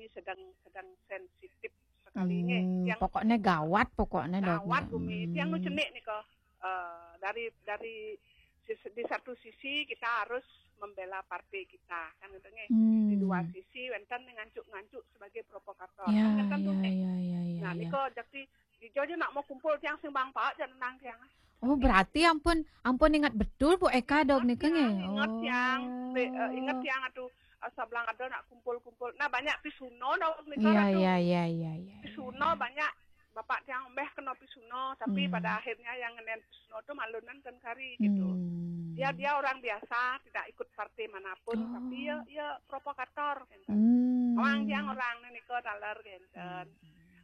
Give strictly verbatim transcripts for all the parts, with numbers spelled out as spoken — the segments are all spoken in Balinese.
Ini sedang sedang sensitif sekali nggih. Hmm, yang pokoknya gawat pokoknya, Dok. Gawat, Bumi. Hmm. Yang nu cenik nika, eh, dari dari sis- di satu sisi kita harus membela partai kita, kan gitu nggih. Hmm. Di dua sisi wenten ngancuk-ngancuk sebagai provokator. Ya, kan gitu, ya, nggih. Ya, ya, ya. Nah, ya. Nika jakti di Jojo nak mau kumpul tiang sing bang paut jangan nang tiang. Oh, berarti ampun, ampun ingat betul Bu Eka, Dok, nika nggih. Ingat tiang, oh. Be- eh, ingat tiang atuh, eh, sablang ada nak kumpul-kumpul. Nah, banyak pisuno, Dok, nika. Iya, atuh. Iya, iya, iya, iya. Pisuno banyak bapak tiang mbeh kena pisuno, tapi hmm. Pada akhirnya yang ngenen pisuno tuh malunan kan kari gitu. Hmm. Dia dia orang biasa, tidak ikut partai manapun, oh. Tapi ya ya provokator gitu. Hmm. Orang tiang orang nika taler gitu. Hmm.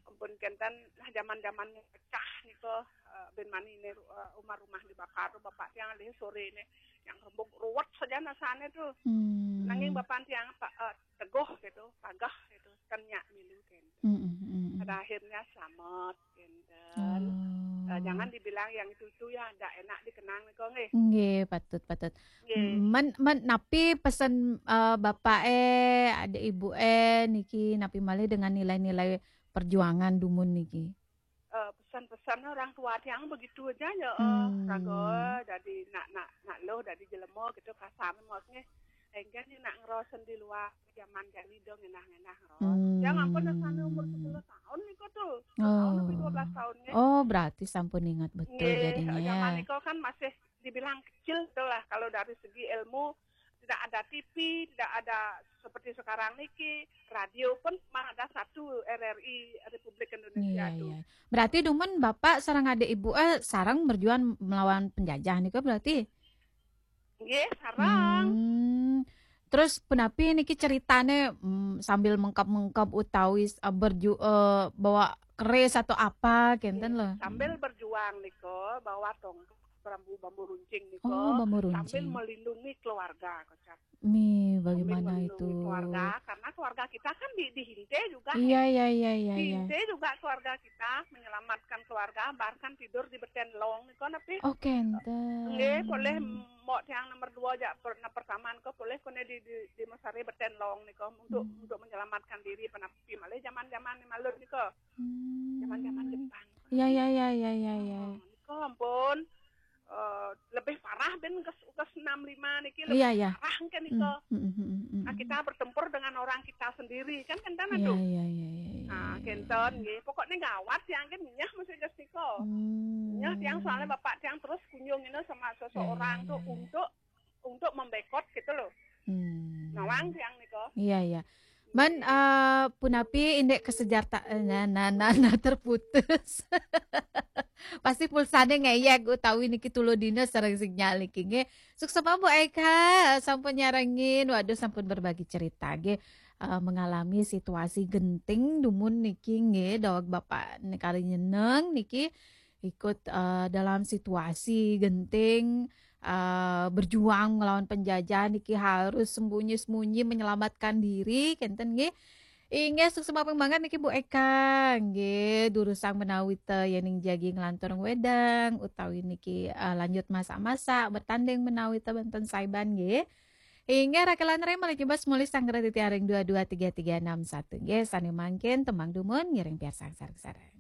Ampun kenten, nah, zaman-zaman pecah nika, eh, ben mani ini, eh, rumah-rumah dibakar tuh bapak tiang alih sore ini yang rembuk ruwet saja nasane tuh. Hmm. Nanging bapak tiang pa- eh, teguh gitu, pagah gitu, kan nyak milu kenten. Hmm, hmm, hmm, hmm. Pada akhirnya selamat kenten. Oh. Eh, jangan dibilang yang itu itu ya ndak enak dikenang nika nggih. Nggih, patut, patut. Nggih. Men, men napi pesen, eh, bapak eh, ada ibu eh niki napi malih dengan nilai-nilai perjuangan dumun niki? Eh, pesan-pesan orang tua tiang begitu aja ya, eh, hmm. Raga, jadi nak nak nak loh, jadi jelema gitu kasar maksudnya. Enggan ni nak ngerosen di luar zaman jani dong ngenah-ngenah ngeros. Hmm. Yang ampun sana umur sepuluh tahun nih kok tuh. Sepuluh tahun lebih dua belas tahun nggih. Oh, berarti sampun ingat betul. Nggih, jadinya zaman ya. Nika kan masih dibilang kecil tuh lah kalau dari segi ilmu, tidak ada T V, tidak ada seperti sekarang niki, radio pun cuma ada satu, R R I Republik Indonesia. Iya, tuh. Iya. Berarti dumun bapak sareng adik ibu eh sareng berjuang melawan penjajah nika berarti? Nggih, sareng. Hmm. Terus punapi niki ceritane, mm, sambil mengkap-mengkap utawi eh, berju eh, bawa keris atau apa kenten loh. Sambil berjuang nika bawa tongkat bambu bambu runcing nika. Oh, bambu runcing. Sambil melindungi keluarga, kocap. Mi, bagaimana itu? Melindungi keluarga karena keluarga kita kan di dihinte juga. Iya, iya, iya, iya. Dihinte juga keluarga kita, menyelamatkan keluarga bahkan tidur di beten long nika napi. Oh, kenten. Nggih, boleh mbok tiang nomor dua aja pernah pertama nika boleh kone di di, di mesare beten long nika untuk hmm. Untuk menyelamatkan diri penapi malih zaman-zaman malun nika. Hmm. Zaman-zaman Jepang. Iya, iya, iya, iya, iya, iya. Oh, nika ampun. Eh, lebih parah ben ke ke enam lima niki lebih iya, iya. Parah kan nika. Hmm, hmm, hmm, hmm, hmm. Nah, kita bertempur dengan orang kita sendiri kan kenten tuh. Iya, iya, iya, iya. Nah, iya, kenten nggih. Pokoknya gawat yang kan nyah mesti gas nika. Hmm. Nyah tiang soalnya bapak tiang terus kunjung ini sama seseorang iya, iya, tuh iya. Untuk untuk membekot gitu loh. Hmm. Nawang tiang nika. Iya, iya. Man, eh, punapi indek kesejarta eh, nah, nah, nah, nah, terputus. Pasti pulsane ngeyek utawi niki tulo dina sareng sinyal niki nggih. Suksma Bu Eka sampun nyarengin, waduh sampun berbagi cerita nggih. Eh, mengalami situasi genting dumun niki nggih daweg bapak nekari nyeneng niki ikut eh, dalam situasi genting eh, berjuang melawan penjajah niki harus sembunyi-sembunyi menyelamatkan diri kenten nggih. Inggih suksma ping banget niki Bu Eka nggih durusang menawi te yening jagi nglantur wedang utawi niki eh, lanjut masak-masak bertanding menawi te benten saiban nggih. Inggih rakelan rem malih jebas mulih sanggra titiaring dua dua tiga tiga enam satu nggih sane mangkin tembang dumun ngiring piarsang sareng-sareng.